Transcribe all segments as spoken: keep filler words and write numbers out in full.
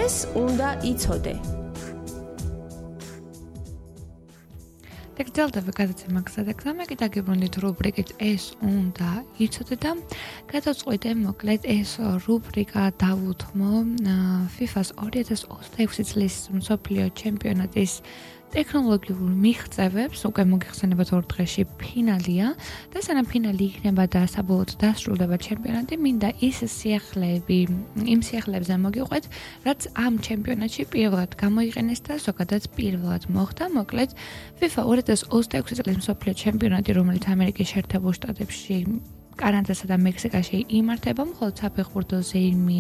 ეს უნდა იცოდე. Დაგძელდება გადაცემა გზადაგზამა კი დაგიბრუნდით რუბრიკით ეს უნდა იცოდე და გადავწყვიტე მოკლედ ეს რუბრიკა დავუთმო FIFA-ს ორი ათას ოცდაექვსი წლის მსოფლიო ჩემპიონატის ტექნოლოგიურ მიღწევებს უკვე მოგიხსენებათ ორ დღეში ფინალია და სანამ ფინალი იქნება და საბოლოოდ დასრულდება ჩემპიონატი, მინდა ის სიახლეები, იმ სიახლეებზე მოგიყვეთ, რაც ამ ჩემპიონატში პირველად გამოიყენეს და ზოგადად პირველად მოხდა. მოკლედ FIFA ორი ათას ოცდაექვსი წლის მსოფლიო ჩემპიონატი, რომელიც ამერიკის შეერთებულ შტატებში, კანადასა და მექსიკაში იმართება, მხოლოდ საფეხბურთო ზეიმი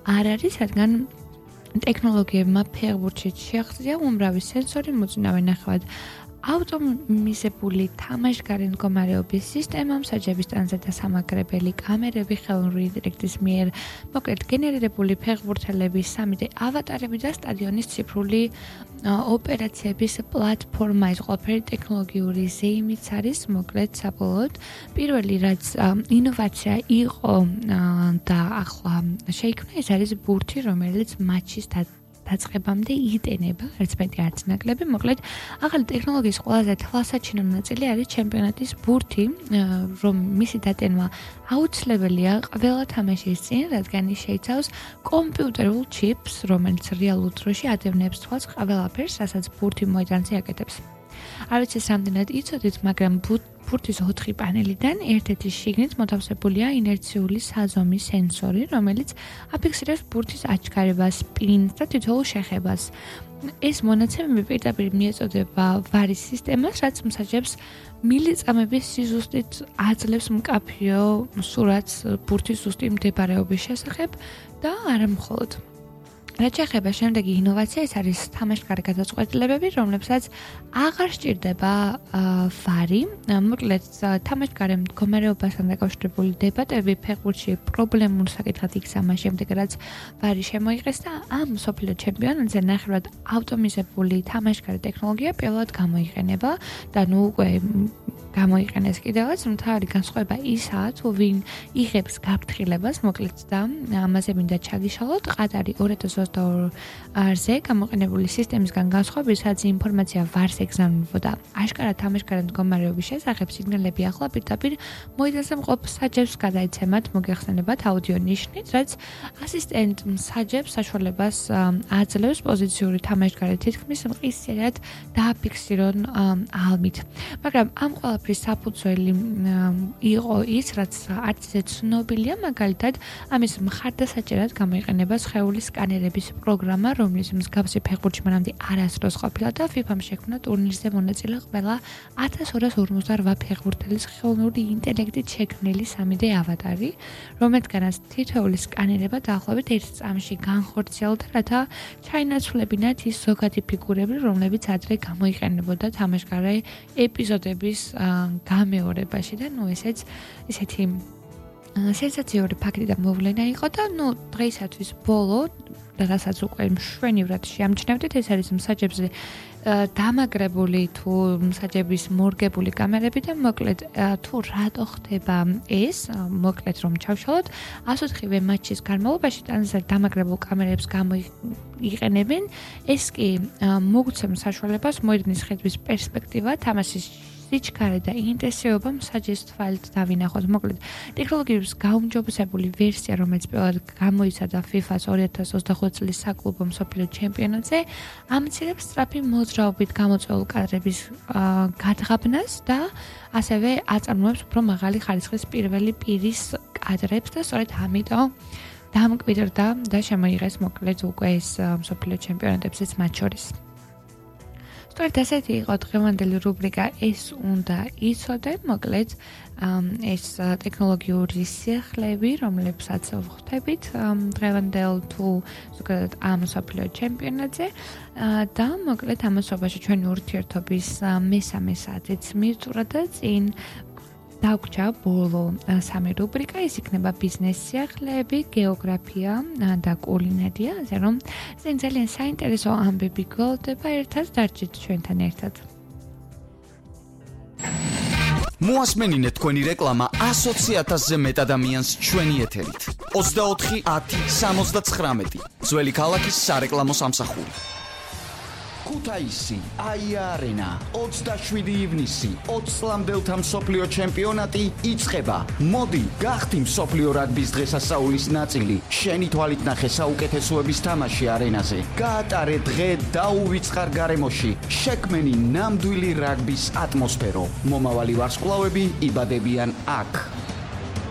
არ არის, რადგან ტექნოლოგიებმა ფეხბურთში შეაღწია უმრავი სენსორი, მოწინავე ნახევად ავტომატიზებული თამაშგარე მდგომარეობის სისტემა, მსაჯების ტანზე დასამაგრებელი კამერები, ხელოვნური ინტელექტის მიერ მოკლედ გენერირებული ფეხბურთელების სამი დე ავატარები და სტადიონის ციფრული ოპერაციების პლატფორმა. ეს ყველაფერი ტექნოლოგიური ზეიმიც არის, მოკლედ საბოლოოდ პირველი რაც ინოვაცია იყო და ახლა შეიქმნა, ეს არის ბურთი, რომელიც მატჩის დაწყებამდე იტენება, არც მეტი არც ნაკლები. მოკლედ ახალი ტექნოლოგიის ყველაზე თვალსაჩინო ნაწილი არის ჩემპიონატის ბურთი, რომ მისი დატენვა აუცილებელია ყველა თამაშის წინ, რადგან ის შეიცავს კომპიუტერულ ჩიპს, რომელიც რეალურ დროში ადევნებს თვალს ყველაფერს, რასაც ბურთი მოედანზე აკეთებს. არ ვიცი რამდენად იცოდით, მაგრამ ბურთის ოთხი პანელიდან ერთ-ერთი შიგნით მოთავსებულია ინერციული საზომი სენსორი, რომელიც აფიქსირებს ბურთის აჩქარებას, სპინს და თითოეულ შეხებას. ეს მონაცემები პირდაპირ მიეწოდება ვარის სისტემას, რაც მსაჯებს მილიწამების სიზუსტით აძლევს მკაფიო სურათს ბურთის ზუსტი მდებარეობის შესახებ და არა მხოლოდ. რაც შეეხება შემდეგი ინოვაცია, ეს არის თამაშგარე გადაწყვეტილებები, რომლებსაც აღარ სჭირდება ვარი. მოკლედ თამაშგარე მდგომარეობასთან დაკავშირებული დებატები ფეხბურთში პრობლემურ საკითხად იქცა შემდეგ, რაც ვარი შემოიღეს და ამ მსოფლიო ჩემპიონატზე ნახევრად ავტომატიზებული თამაშგარე ტექნოლოგია პირველად გამოიყენება და ნუ უკვე გამოიყენეს კიდევაც. მთავარი განსხვავება ისაა, თუ ვინ იღებს გაფრთხილებას, მოკლედ და ამაზე მინდა ჩაგიშალოთ. ყატარი ორი ათას ოცდაორზე გამოყენებული სისტემისგან განსხვავებით, სადაც ინფორმაცია ვარს ეგზავნებოდა აშკარად თამაშგარე მდგომარეობის შესახებ, სიგნალები ახლა პირდაპირ მოედანზე მყოფ მსაჯებს გადაეცემათ, მოგეხსენებათ აუდიო ნიშნით, რაც ასისტენტ მსაჯებს საშუალებას აძლევს პოზიციური თამაშგარე თითქმის მყისიერად დააფიქსირონ ალმით. მაგრამ ამ ყველაფრის საფუძველი იყო ის, რაც არც ისე ცნობილია, მაგალითად ამის მხარდასაჭერად გამოიყენება სხეულის სკანერების პროგრამა, რომლის მსგავსი ფეხბურთში მანამდე არასდროს ყოფილა და FIFA-მ შექმნა ტურნირზე მონაწილე ყველა ათას ორას ორმოცდაოთხ ფეხბურთელის ხელოვნური ინტელექტით შექმნილი სამი დე ავატარი, რომელთგანაც თითოეული სკანერება დაახლოებით ერთ წამში განხორციელდა, რათა ჩაინაცვლებინათ ის ზოგადი ფიგურები, რომლებიც ადრე გამოიყენებოდა თამაშგარე ეპიზოდების გამეორებაში და ნუ ესეც ისეთი სენსაციური ფაქტი და მოვლენა იყო და ნუ დღეისათვის ბოლო რასაც უკვე მშვენივრად შეამჩნევდით, ეს არის მსაჯებზე დამაგრებული თუ მსაჯების მორგებული კამერები და მოკლედ თუ რატო ხდება ეს, მოკლედ რომ ჩავშალოთ, ასოთხივე მატჩის განმავლობაში ტანზე დამაგრებულ კამერებს გამოიყენებენ, ეს კი მოგცემს საშუალებას მოედნის ხედვის პერსპექტივა, თამაშის სიჩქარე და ინტენსივობა მსაჯის თვალით დავინახოთ. მოკლედ, ტექნოლოგიების გაუმჯობესებული ვერსია, რომელიც პირველად გამოიცადა FIFA-ს ორი ათას ოცდახუთი წლის საკლუბო მსოფლიო ჩემპიონატზე, ამცირებს სწრაფი მოძრაობით გამოწვეულ კადრების გადაღებნას და ასევე აწარმოებს უფრო მაღალი ხარისხის პირველი პირის კადრებს და სწორედ ამიტომ დამკვიდრდა და შემოიღეს მოკლედ უკვე ეს მსოფლიო ჩემპიონატებზეც მათ შორის. სწორედ ასეთი იყო დღევანდელი რუბრიკა ეს უნდა იცოდე, მოკლედ ეს ტექნოლოგიური სიახლეები, რომლებსაც ვხვდებით დღევანდელ თუ ზოგადად ამ მსოფლიო ჩემპიონატზე და მოკლედ ამასობაში ჩვენი ურთიერთობის მესამე საათიც მივწურა და წინ დაგვრჩა ბოლო სამი რუბრიკა, ის იქნება ბიზნეს სიახლეები, გეოგრაფია და კულინარია, ასე რომ წინ ძალიან საინტერესო ამბები გველდება, ერთად დარჩით ჩვენთან ერთად. მოასმენინეთ თქვენი რეკლამა ასოცი ათასზე მეტ ადამიანს ჩვენი ეთერით. ოცდაოთხი ათი სამოცდაცხრამეტი ძველი ქალაქის სარეკლამო სამსახური. ქუთაისი, აია არენა, ოცდაშვიდი ივნისი, ოცი წლამდელთა მსოფლიო ჩემპიონატი იწყება. მოდი, გახდი მსოფლიო რაგბის დღესასწაულის ნაწილი. შენი თვალით ნახე საუკეთესოების თამაში არენაზე. გაატარე დღე დაუვიწყარ გარემოში. შექმენი ნამდვილი რაგბის ატმოსფერო. მომავალი ვარსკვლავები იბადებიან აქ.